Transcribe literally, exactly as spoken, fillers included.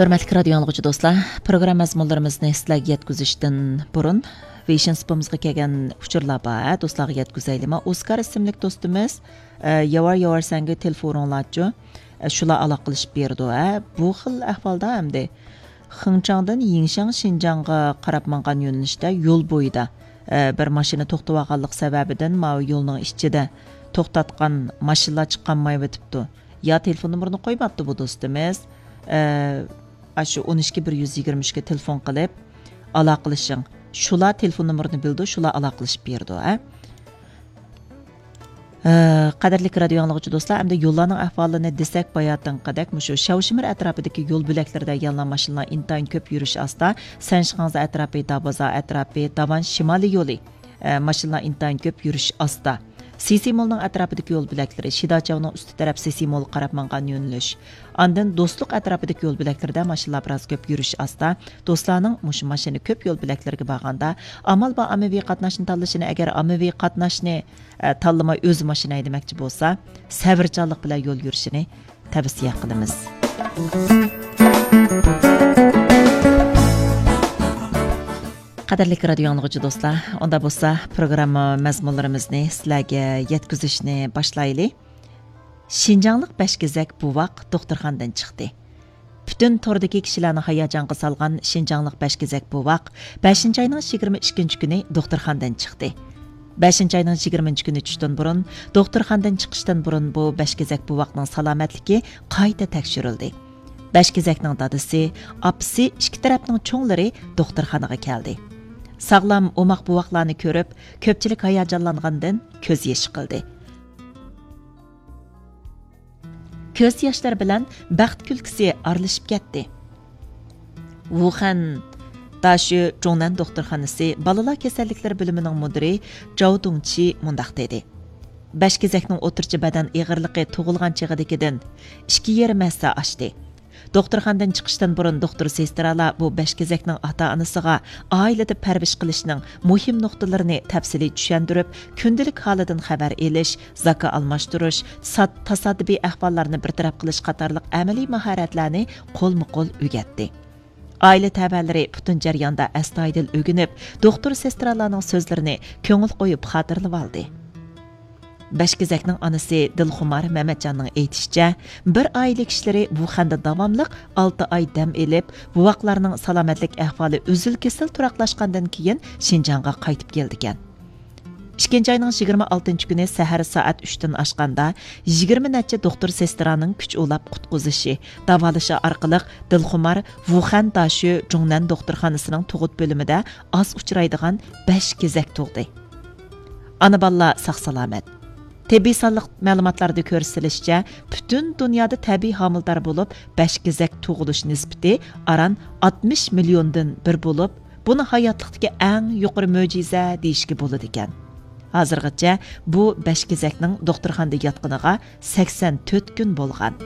ھۆرمەتلىك رادىيو ئاڭلىغۇچى دوستلار، پروگرامما مەزمۇنلىرىمىزنى سىلەرگە يەتكۈزۈشتىن بۇرۇن، ۋېيشىن سۇپىمىزغا كەلگەن ئۇچۇرلار بار، ھە، دوستلارغا يەتكۈزەيلىما. ئوسكار ئىسىملىك دوستىمىز، ئە، ياۋار ياۋار سەنگە تېلېفونۇڭلارچۇ، ئە، شۇلار ئالاقىلىشىپ بېرىدۇ، ھە. بۇ خىل ئەھۋالدا ئەمدى خېڭچاڭدىن يىڭشاڭ شىنجاڭغا قاراپ ماڭغان يۆنىلىشتە يول بويىدا، ئە، بىر ماشىنا توختىۋالغانلىق سەۋەبىدىن ماۋۇ يولنىڭ ئىچىدە توختاتقان ماشىنىلار چىقالمايۋېتىپتۇ. يا تېلېفون نومۇرىنى قويماپتۇ بۇ دوستىمىز. ئە، ئاشۇ ئون ئىككى بىر يۈز يىگىرمە ئۈچكە تېلېفون قىلىپ ئالاقىلىشىڭ. شۇلار تېلېفون نومۇرىنى بىلىدۇ، شۇلار ئالاقىلىشىپ بېرىدۇ، ھە. ئە، قەدىرلىك رادىيو ئاڭلىغۇچى دوستلار، ئەمدى يوللارنىڭ ئەھۋالىنى دېسەك، باياتىنقىدەك مۇشۇ شياۋشىمىر ئەتراپىدىكى يول بۆلەكلىرىدە يەنىلا ماشىنىلار ئىنتايىن كۆپ يۈرۈش ئاستا. سەنشىخاڭزا ئەتراپى، دابازا ئەتراپى، داۋان شىمالىي يولى، ئە، ماشىنىلار ئىنتايىن كۆپ يۈرۈش ئاستا. سىسى مولنىڭ ئەتراپىدىكى يول بۆلەكلىرى، شىداچاۋنىڭ ئۈستى تەرەپ سىسى مولغا قاراپ ماڭغان يۆنىلىش. ئاندىن دوستلۇق ئەتراپىدىكى يول بۆلەكلىرىدە ماشىنىلار بىراز كۆپ يۈرۈش ئاستا. دوستلارنىڭ مۇشۇ ماشىنا كۆپ يول بۆلەكلىرىگە بارغاندا، ئامال بار ئاممىۋى قاتناشنى تاللىشىنى، ئەگەر ئاممىۋى قاتناشنى، ئە، تاللىماي ئۆزى ماشىنا ھەيدىمەكچى بولسا، سەۋرچانلىق بىلەن يول يۈرۈشىنى تەۋسىيە قىلىمىز. قەدىرلىك رادىيو ئاڭلىغۇچى دوستلار، ئۇندا بولسا پروگرامما مەزمۇنلىرىمىزنى سىلەرگە يەتكۈزۈشنى باشلايلى. شىنجاڭلىق بەشكېزەك بوۋاق دوختۇرخانىدىن چىقتى. پۈتۈن توردىكى كىشىلەرنى ھاياجانغا سالغان شىنجاڭلىق بەشكېزەك بوۋاق بەشىنچى ئاينىڭ يىگىرمە ئىككىنچى كۈنى دوختۇرخانىدىن چىقتى. بەشىنچى ئاينىڭ يىگىرمىنچى كۈنى چۈشتىن بۇرۇن، دوختۇرخانىدىن چىقىشتىن بۇرۇن بۇ بەشكېزەك بوۋاقنىڭ سالامەتلىكى قايتا تەكشۈرۈلدى. بەشكېزەكنىڭ دادىسى، ئاپىسى، ئىككى تەرەپنىڭ چوڭلىرى دوختۇرخانىغا كەلدى. ساغلام، ئوماق بوۋاقلارنى كۆرۈپ، كۆپچىلىك ھاياجانلانغاندىن كۆز يېشى قىلدى. كۆز ياشلىرى بىلەن بەخت كۈلكىسى ئارىلىشىپ كەتتى. ۋۇخەن داشۆ جۇڭنەن دوختۇرخانىسى بالىلار كېسەللىكلىرى بۆلۈمىنىڭ مۇدىرى جاۋ دۇڭچى مۇنداق دېدى: بەشكېزەكنىڭ ئوتتۇرىچە بەدەن ئېغىرلىقى تۇغۇلغان چېغىدىكىدىن ئىككى يېرىم ھەسسە ئاشتى. دوختۇرخانىدىن چىقىشتىن بۇرۇن دوختۇر سېسترالار بۇ بەشكېزەكنىڭ ئاتا-ئانىسىغا ئائىلىدە پەرۋىش قىلىشنىڭ مۇھىم نۇقتىلىرىنى تەپسىلىي چۈشەندۈرۈپ، كۈندىلىك ھالىدىن خەۋەر ئېلىش، زاكا ئالماشتۇرۇش، سات-، تاسادىپىي ئەھۋاللارنى بىر تەرەپ قىلىش قاتارلىق ئەمەلىي ماھارەتلەرنى قولمۇ قول ئۆگەتتى. ئائىلە تەۋەلىرى پۈتۈن جەرياندا ئەستايىدىل ئۆگىنىپ، دوختۇر سېسترالارنىڭ سۆزلىرىنى كۆڭۈل قويۇپ خاتىرىلىۋالدى. بەشكېزەكنىڭ ئانىسى دىلخۇمار مەمەتجاننىڭ ئېيتىشىچە، بىر ئائىلە كىشىلىرى ۋۇخەندە داۋاملىق ئالتە ئاي دەم ئېلىپ، بوۋاقلارنىڭ سالامەتلىك ئەھۋالى ئۈزۈل-كېسىل تۇراقلاشقاندىن كېيىن شىنجاڭغا قايتىپ كېلىدىكەن. ئىككىنچى ئاينىڭ يىگىرمە ئالتىنچى كۈنى سەھەر سائەت ئۈچتىن ئاشقاندا، يىگىرمە نەچچە دوختۇر سېسترانىڭ كۈچ ئۇلاپ قۇتقۇزۇشى، داۋالىشى ئارقىلىق دىلخۇمار ۋۇخەن داشۆ جۇڭنەن دوختۇرخانىسىنىڭ تۇغۇت بۆلۈمىدە ئاز ئۇچرايدىغان بەشكېزەك تۇغدى. ئانا بالىلار ساق-سالامەت. تېببىي سانلىق مەلۇماتلاردا كۆرسىتىلىشىچە، پۈتۈن دۇنيادا تەبىئىي ھامىلىدار بولۇپ، بەشكېزەك تۇغۇلۇش نىسبىتى ئاران ئاتمىش مىليوندىن بىر بولۇپ، بۇنى ھاياتلىقتىكى ئەڭ يۇقىرى مۆجىزە دېيىشكە بولىدىكەن. ھازىرغىچە بۇ بەشكېزەكنىڭ دوختۇرخانىدا ياتقىنىغا سەكسەن تۆت كۈن بولغان.